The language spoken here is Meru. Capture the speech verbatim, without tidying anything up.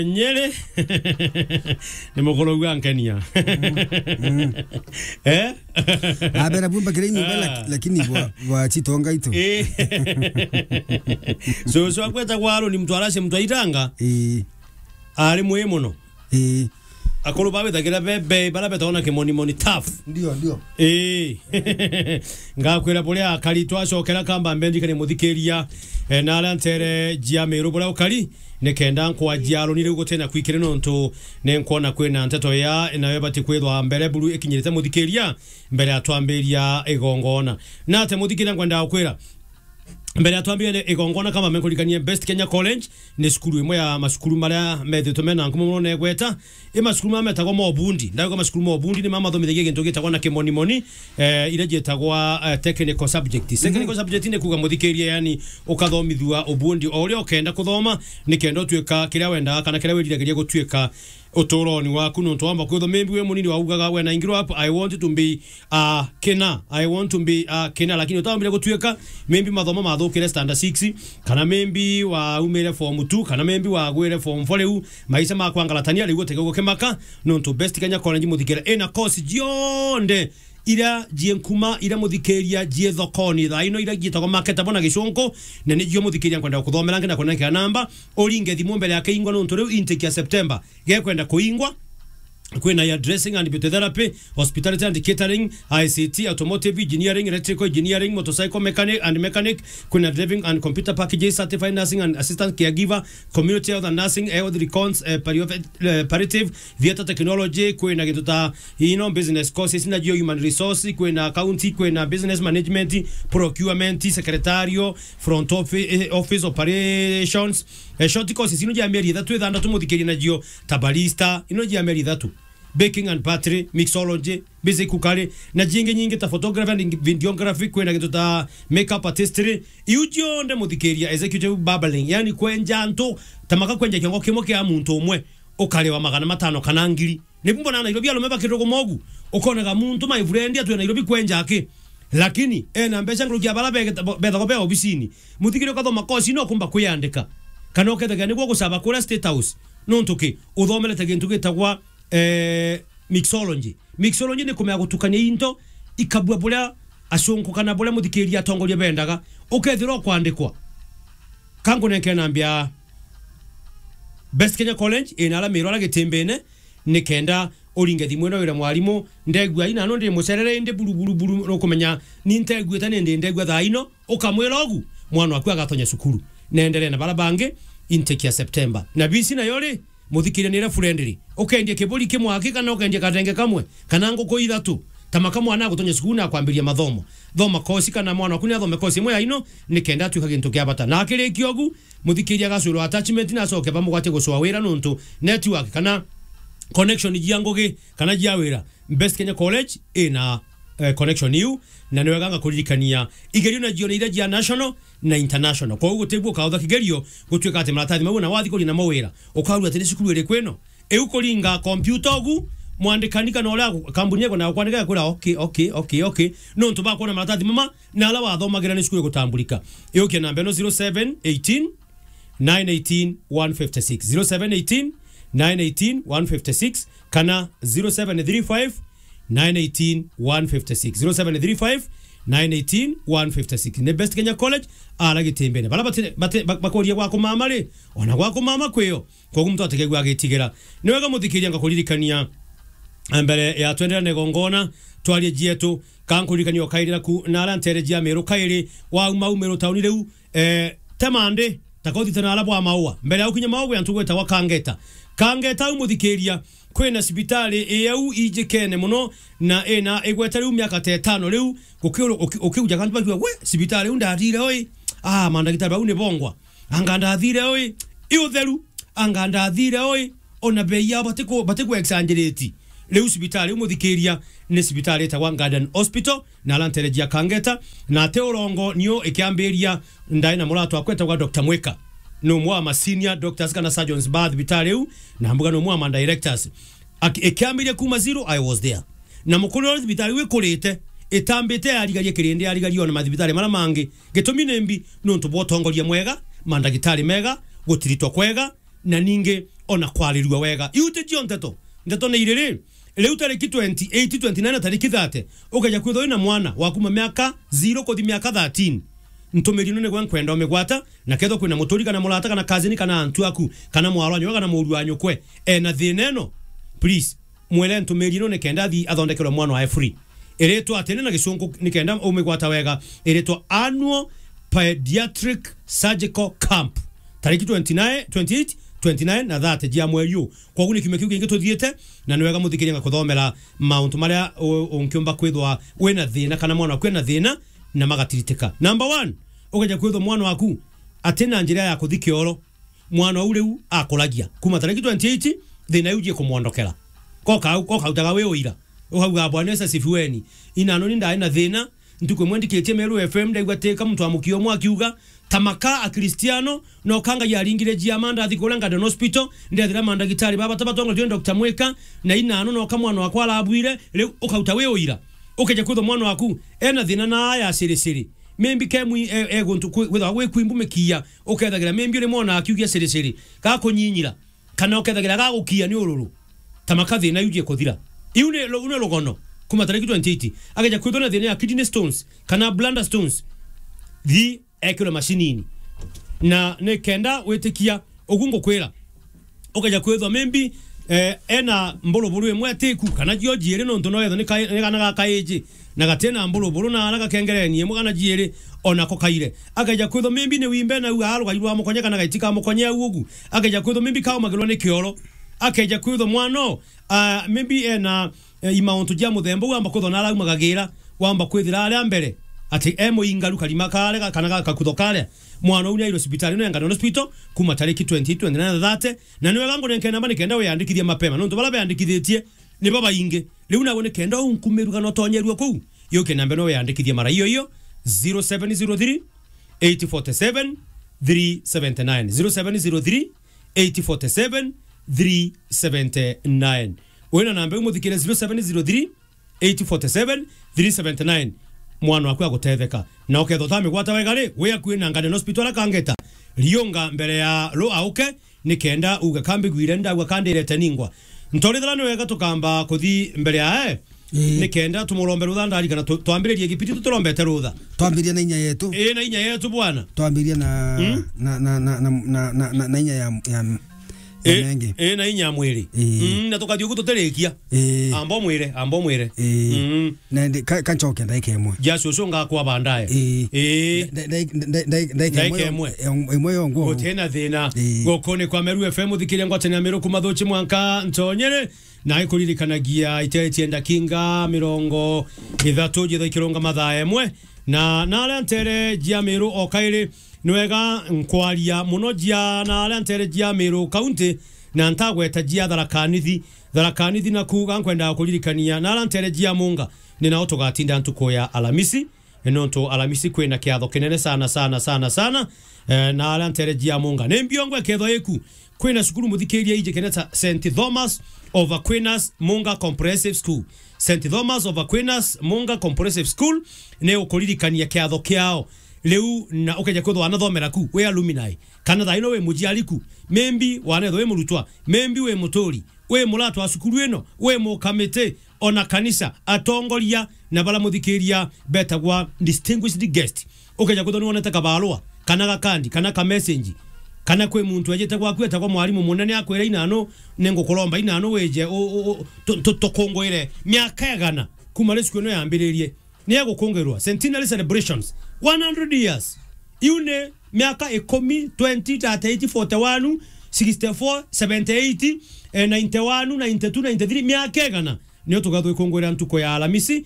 Nyeri. Ni mukuru uga nkenia. Mm. Eh? Abera bumba kire nyumba, lak-, Ah. lakini bwa, bwa chitonga itu. Eh. So, so akweta kwa Aroni mtu arashe mtu aitanga. Eh. Ari mwi muno. Eh. Akuru ba withagira bebe, bara betagwa na kimoni moni tough. Ndio, ndio. Eh. Ngakwira buria akari twacokera kamba mbenjikani muthikiria, eh, na aria ntere jia Meru buria ukari, ni kenda nkwaji Aroni riu gutina kwikire nontu ni nkwona kwina nteto ya nayo ibati kwithwa mbere buru ikinyirite muthikiria mbere ya twambiria igongona. Na ate muthikiria nkwenda gukwira, mbere ya twambiria igongona kama menkurikanie Best Kenya College, ni cukuru imwe ya macukuru maria methitwe mena ngumo muno na igweta. I macukuru mama metagwa ma ubundi. Ndauga macukuru ma ubundi ni mamathomithagia gintu gitagwa na kimonimoni, eh, iria cietagwa, eh, technical subject. Technical Mhm. subject ni kuuga muthikiria, yani, ukathomithua ubundi o uria ukenda kuthoma, ni kenda utuika kiria wendaga kana kiria wiriragiria gutuika uturoni waku. Nontu wamba kwithwa maybe wi munini waugaga when I grow up, I want to be a kina, I want to be a kina, lakini utambire gutuika maybe mathomo mathukire standard six, kana maybe waumire form two, kana maybe wagwire form four, riu maisha makwangalatania, riu utege gukimaka, nontu Best Kenya College muthikiria ina course cionthe iria jie nkuma, iria muthikiria jie thokoni thaa ino, iria jietagwa marketable na gicunku, na nicio muthikiria nkwenda kuthomera ngi na kunengera namba, uringe thimu mbere ya kiingwa, nontu riu intake ya September gekwenda kuingwa. Kwina hairdressing and beauty therapy, hospitality and catering, I C T, automotive engineering, electrical engineering, motorcycle mechanic and mechanic, kwina driving and computer packages, certified nursing and assistant caregiver, community health and nursing, health recons, eh, palliative, eh, palliative, theatre technology, kwina gintu ta, you know, business courses, na jio human resource, kwina accounting, kwina business management, procurement, secretarial, front office, eh, office operations, eh, short courses ino jia mieri ithatu ithandatu muthikirie na jio ta barista, ino jia mieri ithatu. Baking and pottery, mixology, basic cookery, na jingi nyingi ta photography and videography, kwina gintu ta makeup artistry, iu cionthe muthikiria executive barbering, yani kwenja antu, ta maka kwenja kiongo kimwe kia muntu umwe, ukariwa magana matano kana ngiri. Ni mbona Nairobi arume bakiruguma ugu, ukonaga muntu my friend atwe Nairobi kwenja aki, lakini ena mbeca nkuruki ya bara bethagwa be obisini. Muthikiria ukathoma course ino ukumba kwiyandika, kana ukethagira niguo gucaba kuria State House, nontu ki uthomerete gintu gitagwa eh, mixology. Mixology ni kumenya gutukania into ikabua buria acunku kana buria muthikiria atongoria bendaga, ukethirwa ukwandikwa. Kankunenkere nambia Best Kenya College ina ala Meru ala Gitimbine, ni kenda uringe thimu ino wire mwarimu, ndegua ina no ndi mucerere indi buru, buru, buru, nukumenya ni nteguite ni ndi ndegua thaa ino, ukamwira ugu, mwana waku agatonya cukuru. Nenderee na bara bangi intake ya September. Na bisi nayo ri, muthikiria ni iria friendly. Ukendie kiburi kimwe aki kana ukendie katenge kamwe, kana nguku ithatu. Ta maka mwana agutonya cukuru na akwambiria mathomo. Thoma course kana mwana waku ni athome course imwe ya ino, ni kenda atuika gintu kia bata. Na akirikia ugu, muthikiria agacwirwa attachment na acoke bamugwatie gucwa wira nontu network kana connection jia ngugi kana jia wira Best Kenya College ina, eh, connection iu, na ni wega ngakuririkania igerio na jione iria jia national na international. Koguo gutibua ukautha kigerio gutuika ati maratathi mau na wathi kuria namo wira, ukarua ati ni cukuru iriku ino? Iu kuringa kompyuta ugu, mwandikani kana uria kambuni yako na kwandika kwira okay, okay, okay, okay. Nontu bakwona maratathi mama na ala wathomagira ni cukuru igutamburika. Iukia namba ino zero seven eighteen nine eighteen one fifty six, zero seven eighteen nine eighteen one fifty six, kana zero seven three five nine eighteen one fifty six, zero seven three five nine eighteen one fifty six. Ni Best Kenya College, ara Gitimbene. Bara bati, bati, bak-, bakoria gwa kumama ri, ona gwa kumama kwio. Koguo muntu ategegua agitigira. Ni wega muthikiria ngakuririkania mbere ya twenderane gongona, twarie jietu, kankuririkania ukairira ku na ara ntere jia Meru kairi, wauma umiro tauni riu, eh, te mandi, ta kothite na ara bwa maua. Mbere ya ukinya maua gwi antu gwetagwa Kangeta. Kangeta au muthikiria, kwina cibitari i au ijikene muno, na ina igwete riu miaka ta itano riu, gukiuru-, uki-, ukiuja kantu bakiuga, "We, cibitari iu ndathire oi. Ah, mandagitari bau ni bongwa. Anga ndathire oi. I utheru. Anga ndathire oi." Ona bei yao batiku-, batiku exaggerate. Riu cibitari iu muthikiria ni cibitari itagwa Garden Hospital, na ara ntere jia Kangeta, na ati urongo niu ikiambiria ndai na muratwa akwetagwa Doctor Mwika. Ni umwe wa ma senior doctors kana surgeons ba thibitari iu, na mbuga ni umwe wa ma directors. Aki-, ikiambiria kuma zero, I was there. Na mukuru uria thibitari iu ikurite, itambite yarigaria kirindi, yarigaria ona mathibitari mara mangi. Gitumi ni mbi, nontu bwa utongoria mwega, mandagitari mega, gutiritwa kwega, na ningi ona kwarirua wega. Iu ti cio nteto. Nteto ni iriri, riu tariki twenty-eight, twenty-nine na tariki thirty, ukeja kwithwa wina mwana wa kuma miaka zero kuthi miaka thirteen, ntumiri ino nigwe nkwenda umigwata, na kethwa kwina muturi kana murata kana cousin kana antu aku, kana mwaro wa nyukwe kana muru wa nyukwe ena thina ino, please, mwire ntumiri ino nikenda athi athondekerwe mwana wae free. Iritwa atene na gicunku nikenda umigwata wega, iritwa Annual Pediatric Surgical Camp, tariki twenty-nine, twenty-eight, twenty-nine na thirty jia mweri uu. Kwogu ni kiumia kiu kingi tuthiite, na ni wega muthikiriria ngakuthomera mauntu maria u-, unkiumba kwithwa wina thina kana mwana waku ena thina, na magatiritika. Number one, ukeja kwithwa mwana waku atina njira ya kuthi kioro, mwana uu riu akuragia. Kuma tariki twenty-eight, thina iu jie kumwondokera. Koka au, koka utaga wi uira. Ukauga, "Bwana Yesu asifiweni. Inano ni ndai na thina, ntuku imwe ndikitie Meru F M, ndaigua tika muntu wa mukio umwe akiuga, ta maka Akristiano, no ka Ngai aringire jiama, ndathi kuria Garden Hospital, ndethira mandagitari baba tabatongoretue ni Doctor Mwika, na inano no ka mwana wakwa arabwire." Riu ukauta wi uira. Ukeja kwithwa mwana waku ena thina na ya siri siri. Maybe ke mwi-, e, e guntu kwi-, kwithagwa gwi kwimbu mikiia, ukethagira maybe uri mwana akiugia siri siri, gakunyinyira, kana ukethagira gagukia ni ururu. Ta maka thina iu jie kuthira. Iu ni ru-, ni rugono. Kuma tariki twenty-eight, akeja kwithwa na thina ya kidney stones, kana bladder stones, thi ekirwe macinini. Na ni kenda witikia ugu ngukwira, ukeja kwithwa maybe, eh, ena mburuburu imwe atiku, kana jio jiiri, nontu no ethwa ni ka-, ni kana ga kaiji, na gatina mburuburu, na ara gakengereni imwe kana jiiri, ona ko kaire. Akeja kwithwa maybe ni wimbe na u arugai rwa mukonye kana gaiti ka mukonye au ugu. Akeja kwithwa maybe kaumagirwa ni kioro. Akeja kwithwa mwana, ah, maybe ena, eh, imauntu jia muthemba u, wamba kwithwa na araumaga gira, wamba kwithira aria mbere ati e muingaru karima karia ga-, kana ga-, kakutho karia. Mwana uu ni airwe cibitari ino ya Ngandon Hospital kuma tariki twenty, twenty-nine na thirty, na ni wega ngunenkere namba nikenda wiyandikithie mapema, nontu baria beyandikithitie ni babaingi. Riu nawe nikenda unkumirue kana utonyerue kuu, yuke namba ino wiyandikithie mara iyo iyo, zero seven zero three, eight four seven, three seventy nine, zero seven zero three, eight four seven, three seventy nine. Wina namba iu muthikire, zero seven zero three, eight four seven, three seventy nine, mwana waku agutetheka. Na ukethwa utamigwata wega ri, wi akui na Ngandon Hospital akangeta, riunga mbere ya ru auke, nikenda uga, "Kambigwire, ndauga kandirete ningwa." Ntorithira ni wega tukamba kuthi mbere ya, eh, ii, nikenda tumurombe rutha, ndarikana tu-, twambiririe gipindi tuturombete rutha. Twambiria na inya yetu. Ii, na inya yetu bwana. Twambiria na, mm, na, na inya ya, ya, ya, eh, mengi. Eh, na inya ya mwiri. Ii. Mm, na tukathi ugu tutirikia. Ii. Amba umwire, amba umwire. Ii. Mm. Na ndi-, ka, ka ncoke ndaika imwe. Just ucio ngakwa bandaye. Ii. Ii. Nda-, nda-, nda-, nda-, ndaika imwe. Ndaika imwe. Yo-, imwe yongwa. Gutina thina. Ii. Guku ni kwa Meru F M, uthikiria ngwataniro ya Meru kuma Thuchi mwanka Ntonyere. Na ikuririkanagia iteretie ndakinga mirongo ithatu jitha ikirunga mathaa emwe. Na, na aria ntere jia Meru o kairi, ni wega nkwaria muno jia na aria ntere jia Meru County, na ntagweta jia Tharaka Nithi. Tharaka Nithi na kuuga nkwenda kuririkania na aria ntere jia Munga, ni nao tugatinda ntuku ya Alamisi. Nontu Alamisi kwina kiatho kinene sana, sana, sana, sana. Eh, na aria ntere jia Munga. Ni mbiongwa kethwa iku. Kwina cukuru muthikiria iji kineta Saint Thomas of Aquinas Munga Comprehensive School. Saint Thomas of Aquinas Munga Comprehensive School ni ukuririkania kiatho kiao. Riu na ukeja kwithwa wanathomera ku, wi alumni, kana thaa ino wi mujiari ku, maybe wanethwa wi murutwa, maybe wi muturi, wi muratwa wa cukuru ino, wi mukamiti, ona kanisa, atongoria, na bara muthikiria betagwa distinguished guest. Ukeja kwithwa ni wonete kabarua, kana gakandi, kana ka message, kana kwi muntu ejite gwaku etagwa mwarimu munene akwira, "Inano, ningukuromba inano wije u-, u-, u-, tu-, tu-, tukungwire miaka igana kuma ri cukuru ino yambiririe." Ni egukungirwa centenary celebrations, one hundred years. Iu ni miaka ikumi, twenty, thirty-eight, forty-one, sixty-four, seventy-eight, eh, ninety-one, ninety-two, ninety-three, miaka igana. Nio tugathwa ikungwira ntuku ya Alamisi,